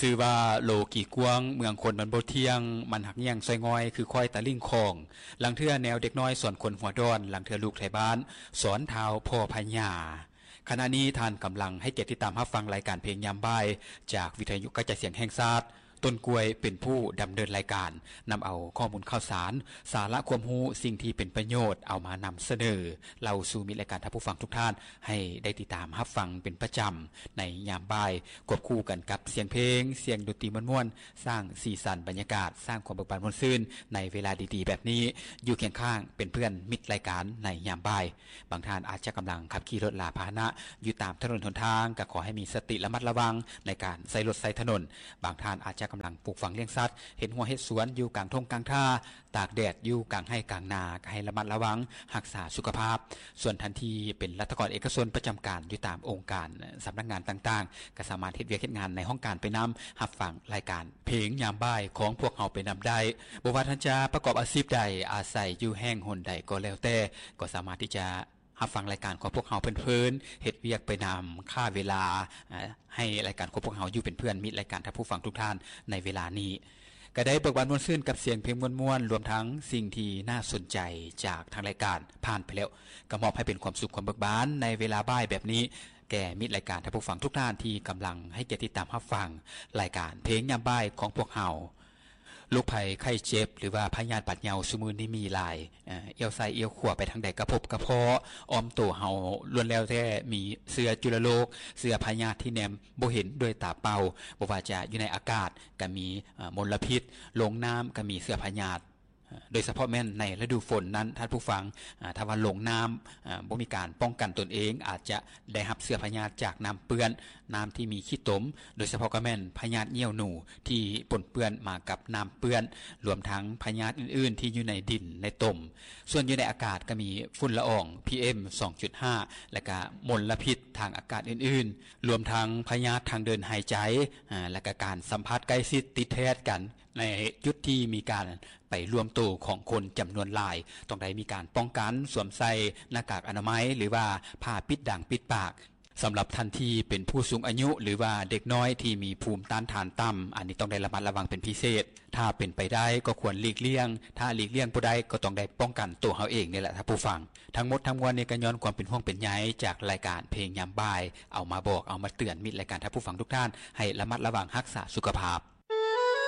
ຊື່ວ່າໂລກີກວ້າງ ເມືອງຄົນມັນບໍ່ທ່ຽງ ມັນຮັກແຍ່ງຊ່ອຍງ່ອຍ ຄືຄວາຍຕາລິງຂອງ ລາງເທື່ອແນວເດັກນ້ອຍສອນຄົນຫົວດອນ ລາງເທື່ອລູກໄທບ້ານສອນທ້າວພໍ່ພະຍາ. ຂະນະນີ້ທ່ານກຳລັງໃຫ້ກຽດຕິດຕາມຮັບຟັງລາຍການເພງຍາມບ່າຍ ຈາກວິທະຍຸກະຈາຍສຽງແຫ່ງຊາດ. ຕົ້ນກ້ວຍເປັນຜູ້ດຳເນີນລາຍການ, ນຳເອົາຂໍ້ມູນຂ່າວສານ, ສາລະຄວາມຮູ້, ສິ່ງທີ່ເປັນປະໂຫຍດ ເອົາມານຳສະເໜີ ເລົ່າສູ່ມິດລາຍການທ່ານຜູ້ຟັງທຸກທ່ານ ໃຫ້ໄດ້ຕິດຕາມຮັບຟັງເປັນປະຈຳໃນຍາມບ່າຍ, ຄວບຄູ່ກັນກັບສຽງເພງ, ສຽງດົນຕີມ່ວນໆ, ສ້າງສີສັນບັນຍາກາດ, ສ້າງຄວາມເບີກບານມ່ວນຊື່ນໃນເວລາດີໆແບບນີ້, ຢູ່ຄຽງຂ້າງເປັນເພື່ອນມິດລາຍການໃນຍາມບ່າຍ. ບາງທ່ານອາດຈະກຳລັງຂັບຂີ່ລົດລາພາຫະນະຢູ່ຕາມຖະໜົນຫົນທາງ, ກໍຂໍໃຫ້ມີສະຕິລະມັດລະວັງໃນການໃຊ້ລົດໃຊ້ຖະໜົນ. ບາງທ່ານອາດຈະກຳລັງປູກຝັງລ້ຽງສັດ, ເຮັດຮົ້ວເຮັດສວນຢູ່ກາງທົ່ງກາງທ່າ, ຕາກແດດຢູ່ກາງໄຮ່ກາງນາ, ກໍໃຫ້ລະມັດລະວັງຮັກສາສຸຂະພາບ. ສ່ວນທ່ານທີ່ເປັນລັດຖະກອນເອກະຊົນປະຈຳການຢູ່ຕາມອົງການ, ສຳນັກງານຕ່າງໆ, ກໍສາມາດເຮັດວຽກເຮັດງານໃນຫ້ອງການໄປນຳ, ຮັບຟັງລາຍການເພງຍາມບ່າຍຂອງພວກເຮົາໄປນຳໄດ້. ບໍ່ວ່າທ່ານຈະປະກອບອາຊີບໃດ, ອາໄສຢູ່ແຫ່ງຫົນໃດກໍແລ້ວແຕ່, ກໍສາມາດທີ່ຈະ ຮັບຟັງລາຍການຂອງພວກເຮົາເພີນໆ, ເຮັດວຽກໄປນຳ, ຂ້າເວລາ, ໃຫ້ລາຍການຂອງພວກເຮົາຢູ່ເປັນເພື່ອນມິດລາຍການທ່ານຜູ້ຟັງທຸກທ່ານໃນເວລານີ້. ກໍໄດ້ເບີກບານມ່ວນຊື່ນກັບສຽງເພງມ່ວນໆ, ລວມທັງສິ່ງທີ່ໜ້າສົນໃຈຈາກທາງລາຍການຜ່ານໄປແລ້ວ, ກໍມອບໃຫ້ເປັນຄວາມສຸກຄວາມເບີກບານໃນເວລາບ່າຍແບບນີ້ ແກ່ມິດລາຍການທ່ານຜູ້ຟັງທຸກທ່ານທີ່ກຳລັງໃຫ້ກຽດຕິດຕາມຮັບຟັງລາຍການເພງຍາມບ່າຍຂອງພວກເຮົາ. ໂລກໄພໄຂ້ເຈັບ ຫຼືວ່າພະຍາດບາດເຍົາຊຸມື້ນີ້ມີຫຼາຍ, ເອີ່ ອຽວຊ້າຍອຽວຂວາໄປທາງໃດກະພົບກະພໍ້, ອ້ອມໂຕເຮົາລ້ວນແລ້ວແຕ່ມີເຊື້ອຈຸລະໂລກ, ເຊື້ອພະຍາດທີ່ແນມບໍ່ເຫັນດ້ວຍຕາເປົ່າ, ບໍ່ວ່າຈະຢູ່ໃນອາກາດກະມີ, ເອີ່ ມົນລະພິດ, ລົງນ້ຳກະມີເຊື້ອພະຍາດ, ເອີ່ ໂດຍສະເພາະແມ່ນໃນລະດູຝົນນັ້ນ, ທ່ານຜູ້ຟັງ, ເອີ່ ຖ້າວ່າລົງນ້ຳ, ເອີ່ ບໍ່ມີການປ້ອງກັນຕົນເອງ, ອາດຈະ ໄດ້ຮັບເຊື້ອພະຍາດຈາກນ້ຳເປື້ອນ, ນ້ຳທີ່ມີຂີ້ຕົມ, ໂດຍສະເພາະກໍແມ່ນພະຍາດໜຽວໜູທີ່ປົນເປື້ອນມາກັບນ້ຳເປື້ອນ, ລວມທັງພະຍາດອື່ນໆທີ່ຢູ່ໃນດິນໃນຕົມ. ສ່ວນຢູ່ໃນອາກາດກໍມີຝຸ່ນລະອອງ ພີເອັມ ສອງຈຸດຫ້າ ແລະກະມົນລະພິດທາງອາກາດອື່ນໆ, ລວມທັງພະຍາດທາງເດີນຫາຍໃຈ, ອາ, ແລະກະການສຳຜັດໃກ້ຊິດຕິດແທດກັນ ໃນຈຸດທີ່ມີການໄປລວມໂຕຂອງຄົນຈຳນວນຫຼາຍ, ຕ້ອງໄດ້ມີການປ້ອງກັນ, ສວມໃສ່ໜ້າກາກອະນາໄມ ຫຼືວ່າຜ້າປິດດັງປິດປາກ. ສຳລັບທ່ານທີ່ເປັນຜູ້ສູງອາຍຸ ຫຼືວ່າເດັກນ້ອຍທີ່ມີພູມຕ້ານທານຕ່ຳ, ອັນນີ້ຕ້ອງໄດ້ລະມັດລະວັງເປັນພິເສດ. ຖ້າເປັນໄປໄດ້ກໍຄວນຫຼີກລ່ຽງ, ຖ້າຫຼີກລ່ຽງບໍ່ໄດ້ກໍຕ້ອງໄດ້ປ້ອງກັນໂຕເຮົາເອງນີ້ແຫຼະທ່ານຜູ້ຟັງ. ທັງໝົດທັງມວນນີ້ກໍຍ້ອນຄວາມເປັນຫ່ວງເປັນໃຍຈາກລາຍການເພງຍາມບ່າຍ ເອົາມາບອກ, ເອົາມາເຕືອນມິດລາຍການທ່ານຜູ້ຟັງທຸກທ່ານ ໃຫ້ລະມັດລະວັງຮັກສາສຸຂະພາບ.